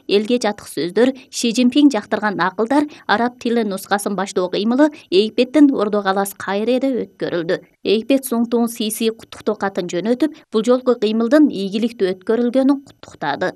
элге жатык сөздөр, Ши Цзиньпин жактырган акылдар, араб тили нускасын баштоо кыймылы Египеттин Ордо каласы Кайреде өткөрүлдү. Египет Суңтуң Сиси куттуктоо катын жөнөтүп, бул жолку кыймылдын ийгиликтүү өткөрүлгөнүн куттуктады.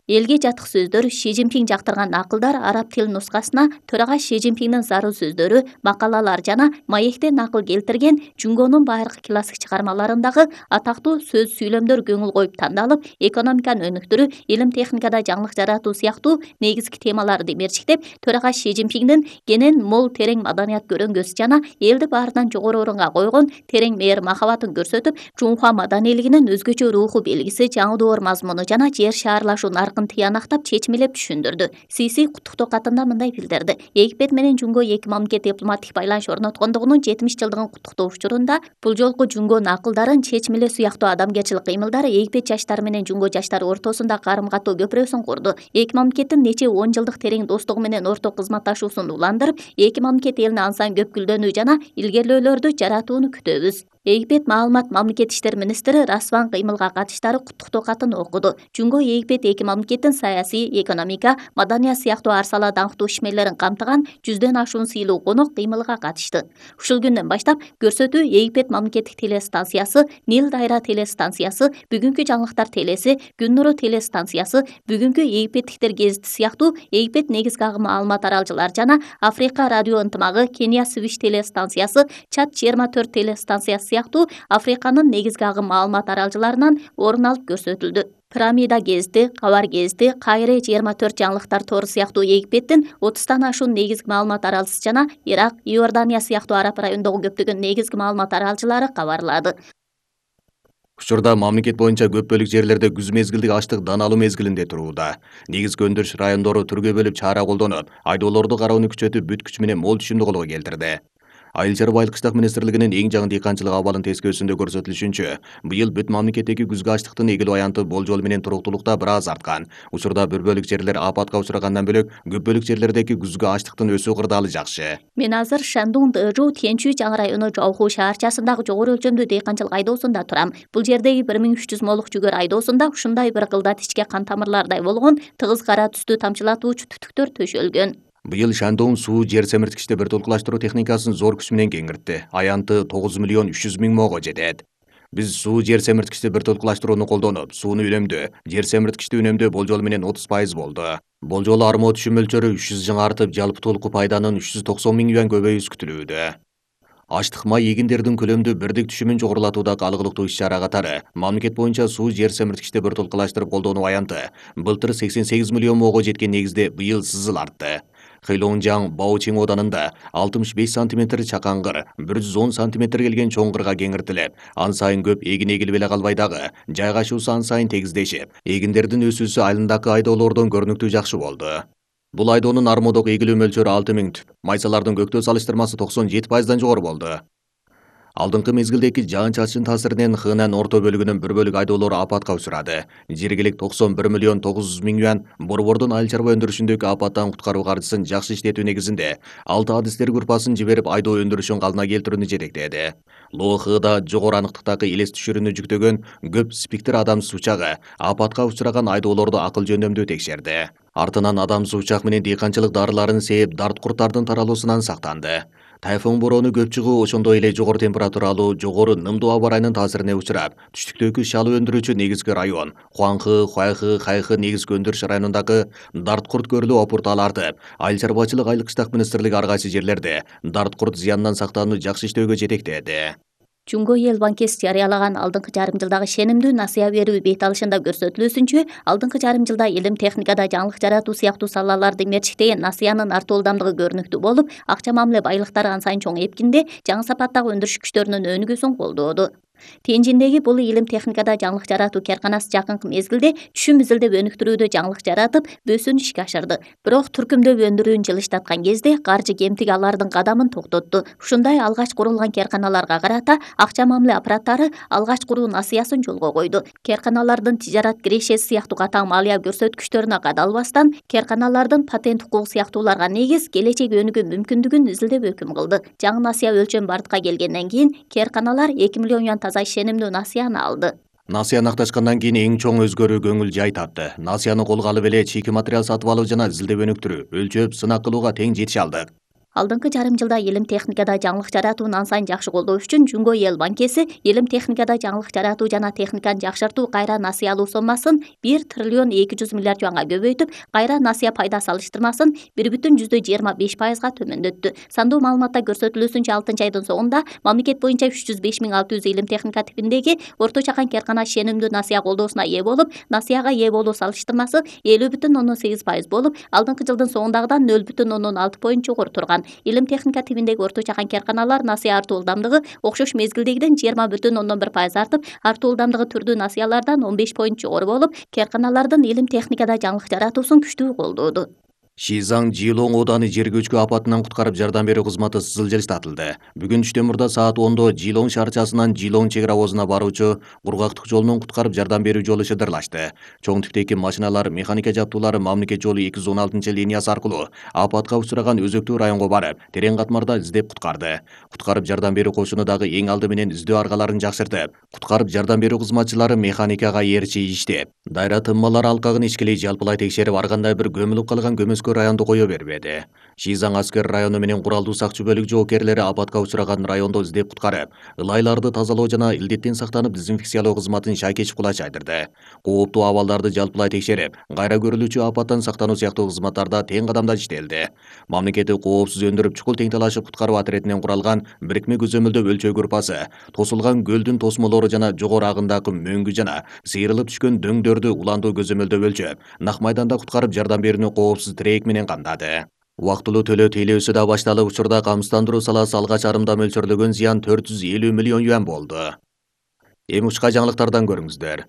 Элге жатык сөздөр, Ши Цзиньпин жактырган акылдар араб тил нускасына төрага Ши Цзиньпиндин зарыл сөздөрү, макалалар жана маектен акыл келтирген Жунгонун байыркы классик чыгармаларындагы атактуу сөз сүйлөмдөр көңүл коюп тандалып, экономиканы өнүктүрүү, илим техникада жаңылык жаратуу сыяктуу негизги темаларды мерчиктеп, төрага Ши Цзиньпиндин кенен мол терең маданият көрөнгөсү жана элди баарынан жогору орунга койгон терең мээр махабатын көрсөтүп, Чунхуа маданийлигинин өзгөчө руху белгиси, жаңы мазмуну жана жер шаарлашуу тыянактап чечмелеп түшүндүрдү. Сиси куттуктоо катында мындай билдирди. Египет менен Жунго эки мамлекет дипломатик байланыш орноткондугунун 70 жылдыгын куттуктоо учурунда бул жолку Жунгонун акылдарын чечмелөө сыяктуу адамгерчилик кыймылдары Египет жаштары менен Жунго жаштары ортосунда карым-катоо көпүрөсүн курду. Эки мамлекеттин нече 10 жылдык терең достугу менен орток кызматташуусун уландырып, эки мамлекет элине ан сайын көп гүлдөнүү жана илгерлөөлөрдү жаратууну күтөбүз. Египет маалымат мамлекет иштер министри Расван кыймылга катыштары куттуктоо катын окуду. Жунго Египет эки мамлекеттин саясий, экономика, маданият сыяктуу ар сала даңктуу ишмерлерин камтыган 100дөн ашуун сыйлуу конок кыймылга катышты. Ушул күндөн баштап көрсөтүү Египет мамлекеттик телестанциясы, Нил Дайра телестанциясы, Бүгүнкү жаңылыктар телеси, Күн нуру телестанциясы, Бүгүнкү Египеттиктер гезити сыяктуу Египет негизги агым маалымат аралжылар жана Африка радио ынтымагы, Кения Свиш телестанциясы, Чад 24 телестанциясы сыяктуу Африканын негизги агым маалымат аралжыларынан орун алып көрсөтүлдү. Пирамида гезити, Кабар гезити, Кайре 24 жаңылыктар тору сыяктуу Египеттин 30тан ашуун негизги маалымат аралчысы жана Ирак, Иордания сыяктуу араб райондогу көптөгөн негизги маалымат аралчылары кабарлады. Учурда мамлекет боюнча көп бөлүк жерлерде күз мезгилдик ачтык дан алуу мезгилинде турууда. Негизги өндүрүш райондору түргө бөлүп чара колдонуп, айдоолорду кароону күчөтүп, бүт күчү менен мол түшүмдү колго келтирди. Айыл чарба айыл кыштак министрлигинин эң жаңы дыйканчылык абалын тескөөсүндө көрсөтүлүшүнчө, быйыл бүт мамлекеттеги күзгү ачтыктын эгилүү аянты болжол менен туруктуулукта бир аз арткан. Учурда бир бөлүк жерлер апатка учурагандан бөлөк, көп бөлүк жерлердеги күзгү ачтыктын өсүү кырдаалы жакшы. Мен азыр Шандун Дэжу Тянчу жаңы району Жауху шаарчасындагы жогору өлчөмдүү дыйканчылык айдоосунда турам. Бул жердеги 1300 молук жүгөр айдоосунда ушундай бир кылдат ичке кан тамырлардай болгон тыгыз кара түстүү тамчылатуучу түтүктөр төшөлгөн. Быйыл Шандун суу жер семирткичти бир толкулаштыруу техникасын зор күч менен кеңиртти. Аянты 9 миллион 300 миң моого жетет. Биз суу жер семирткичти бир толкулаштырууну колдонуп, сууну үнөмдөө, жер семирткичти үнөмдөө болжол менен 30% болду. Болжол армоо түшүм мөлчөрү 300 жыңа артып, жалпы толку пайданын 390 миң юан көбөйүүсү күтүлүүдө. Ачтык май эгиндердин көлөмдүү бирдик түшүмүн жогорулатуудагы алгылыктуу иш-чара катары мамлекет боюнча суу жер семирткичти бир толкулаштырып колдонуу аянты былтыр 88 миллион моого жеткен негизде быйыл сызыл артты. Хэйлоңжаң Баочиң оданында 65 сантиметр чакаңгыр, 110 сантиметр келген чоңгырга кеңиртилип, ан сайын көп эгин эгилип эле калбай дагы, жайгашуусу ан сайын тегиздешип, эгиндердин өсүүсү айылындагы айдоолордон көрүнүктүү жакшы болду. Бул айдоонун армоодогу эгилүү мөлчөрү 6000 түп, майсалардын көктөө салыштырмасы 97%дан жогору болду. Алдыңкы мезгилдеги жаан-чачын таасиринен Хынан орто бөлүгүнүн бир бөлүк айдоолору апатка учурады. Жергилик 91 миллион 900 миң юан борбордун айыл чарба өндүрүшүндөгү апаттан куткаруу каржысын жакшы иштетүү негизинде 6 адистер группасын жиберип айдоо өндүрүшүн калына келтирүүнү жетектеди. ЛОХда жогору аныктыктагы элес түшүрүүнү жүктөгөн көп спектр адамсыз учагы апатка учураган айдоолорду акыл жөндөмдүү текшерди. Артынан адамсыз учак менен дыйканчылык дарыларын сээп, дарт курттардын таралуусунан сактанды. Тайфун бороону көп чыгуу, ошондой эле жогору температуралуу, жогору нымдуу аба ырайынын таасирине учурап, түштүктөгү шалуу өндүрүүчү негизги район Хуанхы, Хуайхы, Хайхы негизги өндүрүш районундагы дарт курт көрүлүү опуртаал артып, айыл чарбачылык айыл кыштак министрлиги ар кайсы жерлерде дарт курт зыянынан сактанууну жакшы иштөөгө жетектеди. Жунго эл банкеси жарыялаган алдыңкы жарым жылдагы шенимдүү насыя берүү бет алышында көрсөтүлүүсүнчө, алдыңкы жарым жылда илим техникада жаңылык жаратуу сыяктуу салаларды мерчиктеген насыянын артуу ылдамдыгы көрүнүктүү болуп, акча мамиле байлыктары ан сайын чоң эпкинде жаңы сапаттагы өндүрүш күчтөрүнүн өнүгүүсүн колдооду. Тенжиндеги бул илим техникада жаңылык жаратуу карканасы жакынкы мезгилде түшүм изилдеп өнүктүрүүдө жаңылык жаратып, бөөсүн ишке ашырды. Бирок түркүмдөп өндүрүүнү жылыштаткан кезде каржы кемтиги алардын кадамын токтотту. Ушундай алгач курулган карканаларга карата акча мамиле аппараттары алгач куруу насыясын жолго койду. Карканалардын тижарат кирешеси сыяктуу катаң малия көрсөткүчтөрүнө кадалбастан, карканалардын патент укугу сыяктууларга негиз келечек өнүгүү мүмкүндүгүн изилдеп өкүм кылды. Жаңы насыя өлчөм бардыкка келгенден кийин карканалар 2 миллион юан таза ишенимдүү насыяны алды. Насыяны акташкандан кийин эң чоң өзгөрүү көңүл жай тапты. Насыяны колго алып эле чийки материал сатып алуу жана изилдеп өнүктүрүү, өлчөп, сынак кылууга тең жетише алдык. Алдыңкы жарым жылда илим техникада жаңылык жаратууну ан сайын жакшы колдоо үчүн Жумго эл банкеси илим техникада жаңылык жаратуу жана техниканы жакшыртуу кайра насыя алуу соммасын 1 триллион 200 миллиард юанга көбөйтүп, кайра насыя пайда салыштырмасын 1,25%га төмөндөттү. Сандуу маалыматта көрсөтүлүүсүнчө 6-айдын соңунда мамлекет боюнча 305.600 илим техника типиндеги орто чакан кээркана шенимдүү насыя колдоосуна ээ болуп, насыяга ээ болуу салыштырмасы 50,8% болуп, алдыңкы жылдын соңундагыдан 0,6 поинт жогору турган. Илим техника типиндеги орто чакан кээрканалар насыя артуу ылдамдыгы окшош мезгилдегиден 20,1% артып, артуу ылдамдыгы түрдүү насыялардан 15 поинт жогору болуп, кээрканалардын илим техникада жаңылык жаратуусун күчтүү колдоду. Шизаң Жилоң ооданы жер көчкү апатынан куткарып жардам берүү кызматы жылжатылды. Бүгүн түштөн мурда саат 10-до Жилоң шаарчасынан Жилоң чек ара обозуна баруучу кургактык жолунун куткарып жардам берүү жолу шыдырлашты. Чоң типтеги машиналар, механика жабдуулары мамлекет жолу 216-линиясы аркылуу апатка учураган өзөктүү районго барып, терең катмарда издеп куткарды. Куткарып жардам берүү кошуну дагы эң алды менен издөө аргаларын жакшыртып, куткарып жардам берүү кызматчылары механикага ээрчи иштеп, дайра тынмалар алкагын ичкилей жалпылай текшерип, ар кандай бир көмүлүп калган районду кое бербеди. Шизаң аскер району менен куралдуу сакчы бөлүк жоокерлери апатка учураган райондо издеп куткарып, ылайларды тазалоо жана илдеттен сактанып дезинфекциялоо кызматын шайкечип кулай чайдырды. Кооптуу абалдарды жалпылай текшерип, кайра көрүлүүчү апаттан сактануу сыяктуу кызматтарда тең кадамда иштелди. Мамлекеттик коопсуз өндүрүп чукул тең талашып куткаруу отрядынан куралган бирикме көзөмөлдөө өлчөө группасы тосулган көлдүн тосмолору жана жогору агымдагы мөңгү жана сейрилип түшкөн дөңдөрдү уландуу көзөмөлдөө өлчөп, нак майданда куткарып жардам берүүнү коопсуз тирээк менен камдады. Убактылуу төлөө тейлөөсү да башталып, учурда камсыздандыруу саласы алгач арымда мөлчөрлөгөн зыян 450 миллион юан болду. Эми учка жаңылыктардан көрүңүздөр.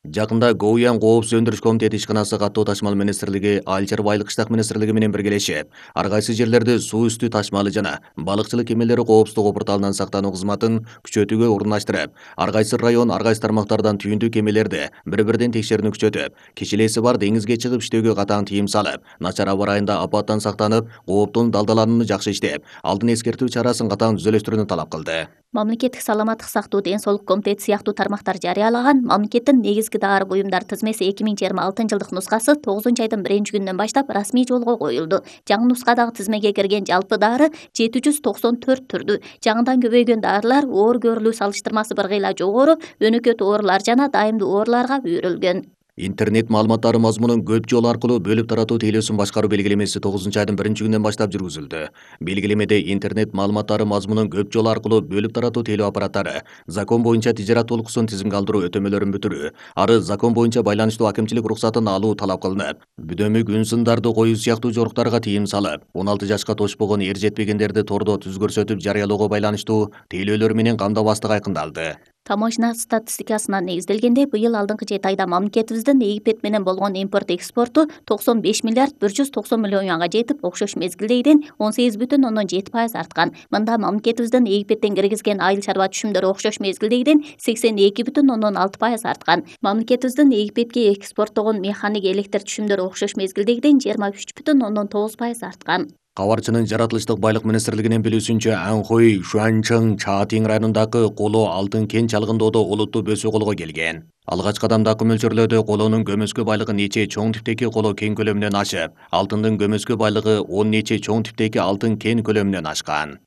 Жакында Гоуян коопсуз өндүрүш комитети ишканасы каттоо ташмал министрлиги, Айыл чарбалык кыштак министрлиги менен биргелешип, ар кайсы жерлерде суу үстү ташмалы жана балыкчылык кемелери коопсуздугу порталынан сактануу кызматын күчөтүүгө орундаштырып, ар кайсы район, ар кайсы тармактардан түйүндүү кемелерди бири-бирден текшерүүнү күчөтүп, кичилеси бар деңизге чыгып иштөөгө катаң тыйым салып, начар аба ырайында апаттан сактанып, кооптун далдаланууну жакшы иштеп, алдын эскертүү чарасын катаң түзөлөштүрүүнү талап кылды. Мамлекеттик саламаттык сактоо ден соолук комитети сыяктуу тармактар жарыялаган мамлекеттин негизги дары буюмдар тизмеси 2026 жылдык нускасы 9-айдын 1-күнүнөн баштап расмий жолго коюлду. Жаңы нускадагы тизмеге кирген жалпы дары 794 түрдүү. Жаңыдан көбөйгөн дарылар оор көрүлүү салыштырмасы бир кыйла жогору, өнөкөт оорулар жана дайымдуу ооруларга үйрүлгөн. Интернет маалыматтары мазмунун көп жол аркылуу бөлүп таратуу тейлөөсүн башкаруу белгилемеси 9-айдын 1-күнүнөн баштап жүргүзүлдү. Белгилемеде интернет маалыматтары мазмунун көп жол аркылуу бөлүп таратуу тейлөө аппараттары закон боюнча тижарат толукусун тизимге алдыруу өтөмөлөрүн бүтүрүү, ары закон боюнча байланыштуу акимчилик уруксатын алуу талап кылынып, бүдөмүк үн сындарды коюу сыяктуу жоруктарга тыйым салып, 16 жашка тошпогон эр жетпегендерди тордо түз көрсөтүп жарыялоого байланыштуу тейлөөлөр менен камдабастык айкындалды. Таможня статистикасына негизделгенде, быйыл алдыңкы 7 айда мамлекетибиздин Египет менен болгон импорт-экспорту 95 миллиард 190 миллион юанга жетип, окшош мезгилдегиден 18,7% арткан. Мында мамлекетибиздин Египеттен киргизген айыл чарба түшүмдөрү окшош мезгилдегиден 82,6% арткан. Мамлекетибиздин Египетке экспорттогон механик электр түшүмдөрү окшош мезгилдегиден 23,9% арткан. Кабарчынын жаратылыштык байлык министрлигинин билүүсүнчө, Анхой, Шуанчжың, Чаатин районундагы коло алтын кен чалгындоодо олуттуу бөсүү колго келген. Алгач кадамдагы мөлчөрлөөдө колонун көмөскө байлыгы нече чоң типтеги коло кен көлөмүнөн ашып, алтындын көмөскө байлыгы 10 нече чоң типтеги алтын кен көлөмүнөн ашкан.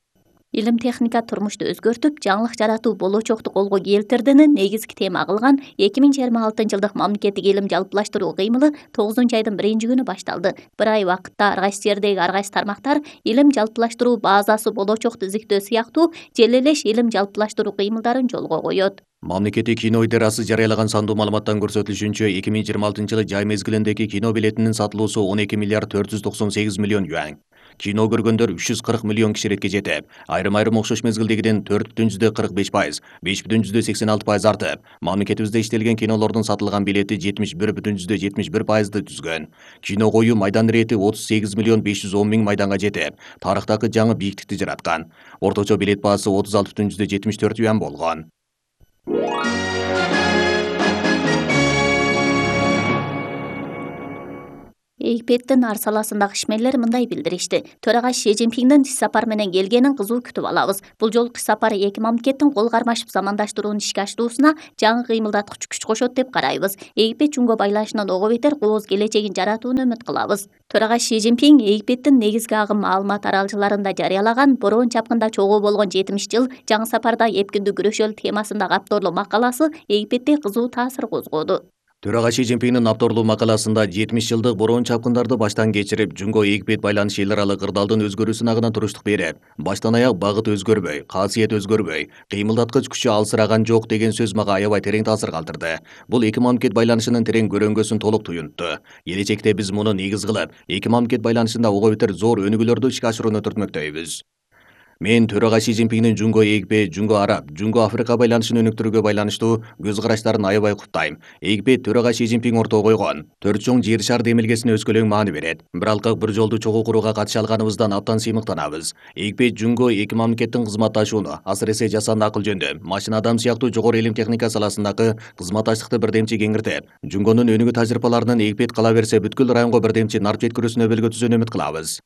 Илим техника турмушту өзгөртүп, жаңылык жаратуу болочокту колго келтирдини негизги тема кылган 2026 жылдык мамлекеттик илим жалпылаштыруу кыймылы 9-айдын 1-күнү башталды. Bir ай убакытта ар кайсы жердеги ар кайсы тармактар илим жалпылаштыруу базасы болочокту изиктөө сыяктуу желелеш илим жалпылаштыруу кыймылдарын жолго коет. Мамлекеттик кино идарасы жарыялаган сандуу маалыматтан көрсөтүлүшүнчө, 2026 жылы жай мезгилиндеги кино билетинин сатылуусу 12 миллиард 498 миллион юан. Кино көргөндөр 340 миллион киширетке жетип, айрым-айрым окшош мезгилдегиден 4,45%, 5,86% артып, мамлекетибизде иштелген кинолордун сатылган билети 71,71%ды түзгөн. Кино коюу майдан ирети 38 миллион 510 миң майданга жетип, тарыхтагы жаңы бийиктикти жараткан. Орточо билет баасы 36,74 юан болгон. Египеттин ар саласындагы ишмерлер мындай билдиришти. Төрага Си Цзиньпиндин иш сапар менен келгенин кызуу күтүп алабыз. Бул жолку иш сапары эки мамлекеттин кол кармашып замандаштырууну ишке ашыруусуна жаңы кыймылдаткыч күч кошот деп карайбыз. Египет Жунго байланышынын ого бетер кооз келечегин жаратууну үмүт кылабыз. Төрага Си Цзиньпин Египеттин негизги агым маалымат аралчыларында жарыялаган бороон чапкында чогуу болгон 70 жыл жаңы сапарда эпкиндүү күрөшөлү темасында капторлуу макаласы Египетте кызуу таасир козгоду. Төрага Си Цзиньпиндин авторлуу макаласында 70 жылдык бороон чапкындарды баштан кечирип, Жунго Египет байланышы эл аралык кырдаалдын өзгөрүүсүнө гана туруштук берип, баштан аяк багыт өзгөрбөй, касиет өзгөрбөй, кыймылдаткыч күчү алсыраган жок деген сөз мага аябай терең таасир калтырды. Бул эки мамлекет байланышынын терең көрөңгөсүн толук туюнтту. Келечекте биз муну негиз кылып, эки мамлекет байланышында ого бетер зор өнүгүүлөрдү ишке ашырууну түртмөктөйбүз. Мен төрага Си Цзиньпиндин Жунго Египет, Жунго Араб, Жунго Африка байланышын өнүктүрүүгө байланыштуу көз караштарын аябай куттайм. Египет төрага Си Цзиньпин ортого койгон төрт чоң жер шар демилгесине өскөлөң маани берет. Бир алкак бир жолду чогуу курууга катыша алганыбыздан абдан сыймыктанабыз. Египет Жунго эки мамлекеттин кызматташууну, асыресе жасанды акыл жөнүндө, машина адам сыяктуу жогору илим техника саласындагы кызматташтыкты бирдемчи кеңиртип, Жунгонун өнүгүү тажрыйбаларынын Египет кала берсе бүткүл районго бирдемчи нарп жеткирүүсүнө өбөлгө түзүүнү үмүт кылабыз.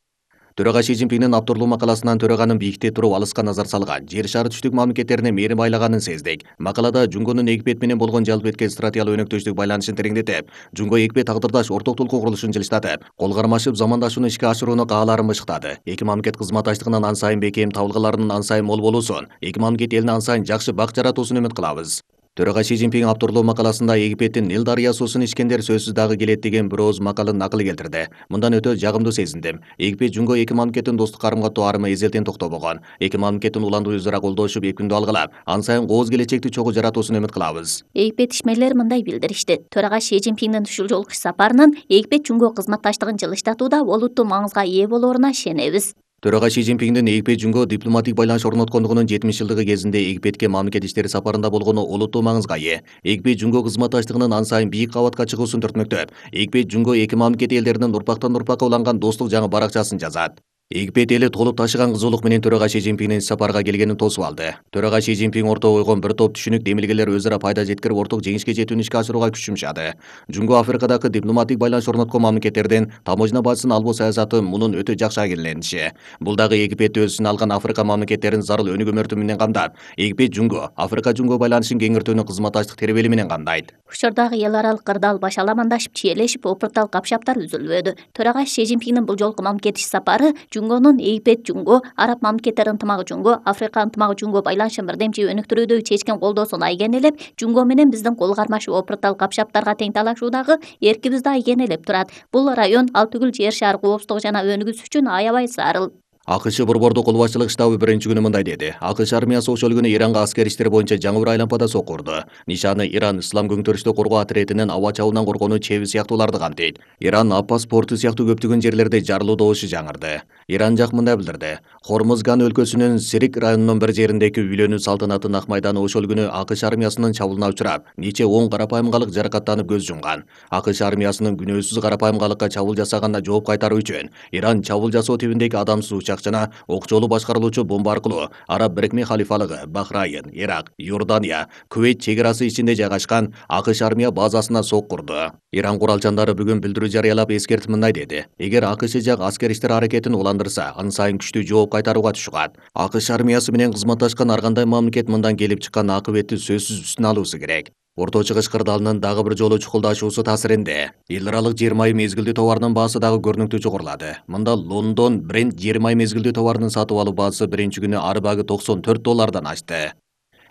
Төрага Си Цзиньпиндин авторлуу макаласынан төраганын бийикте туруп алыска назар салган, жер шары түштүк мамлекеттерине мээрим байлаганын сездик. Макалада Жунгонун Египет менен болгон жалпы эткен стратегиялык өнөктөштүк байланышын тереңдетип, Жунго Египет тагдырдаш орток толкуу курулушун жылыштатып, кол кармашып замандашууну ишке ашырууну каалаарын бышыктады. Эки мамлекет кызматташтыгынын ан сайын бекем, табылгаларынын ан сайын мол болуусун, эки мамлекет элине ан сайын жакшы бак жаратуусун үмүт кылабыз. Төрага Си Цзиньпин авторлуу макаласында Египеттин Нил дарыя суусун ичкендер сөзсүз дагы келет деген бир ооз макалын накыл келтирди. Мындан өтө жагымдуу сезиндим. Египет Жунго эки мамлекеттин достук карым-катоо арымы эзелтен токтобогон. Эки мамлекеттин уландуу өз ара колдошуп, эпкиндүү алгылап, ан сайын кооз келечекти чогуу жаратуусуна үмүт кылабыз. Египет ишмерлери мындай билдиришти. Төрага Си Цзиньпиндин ушул жолку иш сапарынын Египет Жунго кызматташтыгын жылыштатууда олуттуу маңызга ээ болооруна ишенебиз. Төрага Си Цзиньпиндин Египет Жунго дипломатик байланыш орноткондугунун 70 жылдыгы кезинде Египетке мамлекет иштери сапарында болгону олуттуу маңызга ээ. Египет Жунго кызматташтыгынын ан сайын бийик кабатка чыгуусун түртмөктөп, Египет Жунго эки мамлекет элдеринин урпактан урпакка уланган достук жаңы баракчасын жазат. Египет эли толуп ташыган кызуулук менен төрага Си Цзиньпиндин сапарга келгенин тосуп алды. Төрага Си Цзиньпин ортого койгон бир топ түшүнүк демилгелер өз ара пайда жеткирип орток жеңишке жетүүнү ишке ашырууга күч жумшады. Жунго Африкадагы дипломатик байланыш орноткон мамлекеттердин таможня базасын албоо саясаты мунун өтө жакшы агирлениши. Бул дагы Египетти өз ичине алган Африка мамлекеттерин зарыл өнүгүү мөртү менен камдап, Египет Жунго, Африка Жунго байланышын кеңиртүүнү кызматташтык тербели менен камдайт. Учурдагы эл аралык кырдаал башаламандашып, чиелешип, опуртал капшаптар үзүлбөдү. Төрага Си Цзиньпиндин бул жолку мамлекет иш сапары Жунгонун Египет Жунго, Араб мамлекеттер ынтымагы Жунго, Африка ынтымагы Жунго байланышын бирдемчи өнүктүрүүдөгү чечкен колдоосун айгенелеп, Жунго менен биздин кол кармашып, опуртал капшаптарга тең талашуудагы эркибизди айгенелеп турат. Бул район ал түгүл жер шаар коопсуздугу жана өнүгүүсү үчүн аябай зарыл. АКШ борбордук кол башчылык штабы биринчи күнү мындай деди. АКШ армиясы ошол күнү Иранга аскер иштери боюнча жаңы бир айлампада сокку урду. Нишаны Иран Ислам көңтөрүштү коргоо отрядынын аба чабуулунан коргонуу чеби сыяктууларды камтыйт. Иран Аппас порту сыяктуу көптөгөн жерлерде жарылуу добушу жаңырды. Иран жак мындай билдирди. Хормузган өлкөсүнүн Сирик районунун бир жериндеги үйлөнүү салтанатын ак майданы ошол күнү АКШ армиясынын чабуулуна учурап, нече 10 карапайым калык жаракаттанып көз жумган. АКШ армиясынын күнөөсүз карапайым калыкка чабуул жасаганына жооп кайтаруу үчүн Иран чабуул жасоо тибиндеги адамсыз учак жана окчолуу башкарылуучу бомба аркылуу Араб Бирикме халифалыгы, Бахрайын, Ирак, Иордания, Кувейт чек-арасы ичинде жайгашкан АКШ армия базасына сокку урду. Иран куралчандары бүгүн билдирүү жарыялап эскертип мындай деди. Эгер АКШ жак аскер иштери аракетин уландырса, аны сайын күчтүү жооп кайтарууга түшүгат. АКШ армиясы менен кызматташкан ар кандай мамлекет мындан келип чыккан акыбетти сөзсүз үстүнө алуусу керек. Орто Чыгыш кырдаалынын дагы бир жолу чукулдашуусу таасиринде эл аралык жер майы мезгилдүү товарынын баасы дагы көрүнүктүү жогорулады. Мында Лондон Брент жер майы мезгилдүү товарынын сатып алуу баасы биринчи күнү ары багы $94 ашты.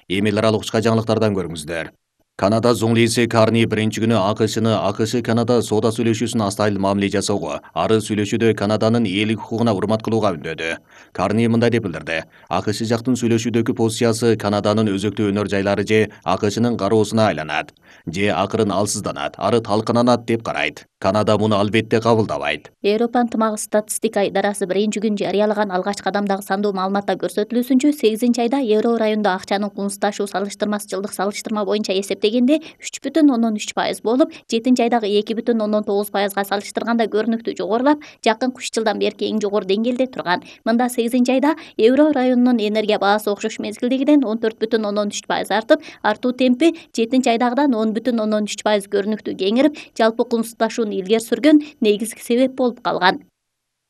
Эми эл аралык учка жаңылыктардан көрүңүздөр. Канада зоңлиси Карни биринчи күнү АКШ Канада соода сүйлөшүүсүн астайыл мамиле жасоого, ары сүйлөшүүдө Канаданын ээлик укугуна урмат кылууга үндөдү. Карни мындай деп билдирди. АКШ жактын сүйлөшүүдөгү позициясы Канаданын өзөктүү өнөр жайлары же АКШнын кароосуна айланат, же акырын алсызданат, ары талкананат деп карайт. Канада муну албетте кабылдабайт. Европа ынтымагы статистика идарасы биринчи күн жарыялаган алгачкы кадамдагы сандуу маалыматта көрсөтүлүүсүнчө 8 айда евро райондо акчанын кунсуздашуу салыштырмасы жылдык салыштырма боюнча эсептеген дегенде 3,3% болуп, 7 айдагы 2,9%га салыштырганда көрүнүктүү жогорулап, жакынкы 3 жылдан берки эң жогору деңгээлде турган. Мында 8 айда Евро районунун энергия баасы окшош мезгилдегиден 14,3% артып, артуу темпи 7 айдагыдан 10,3% көрүнүктүү кеңирип, жалпы кумсуздашууну илгери сүргөн негизги себеп болуп калган.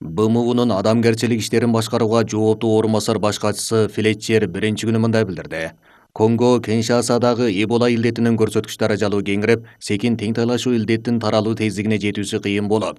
БМУнун адамгерчилик иштерин башкарууга жооптуу орун басар баш катчысы Флетчер биринчи күнү мындай билдирди. Конго Киншасадагы Эбола илдетинин көрсөткүч даражалуу кеңирип, секин теңтайлашуу илдеттин таралуу тездигине жетүүсү кыйын болуп,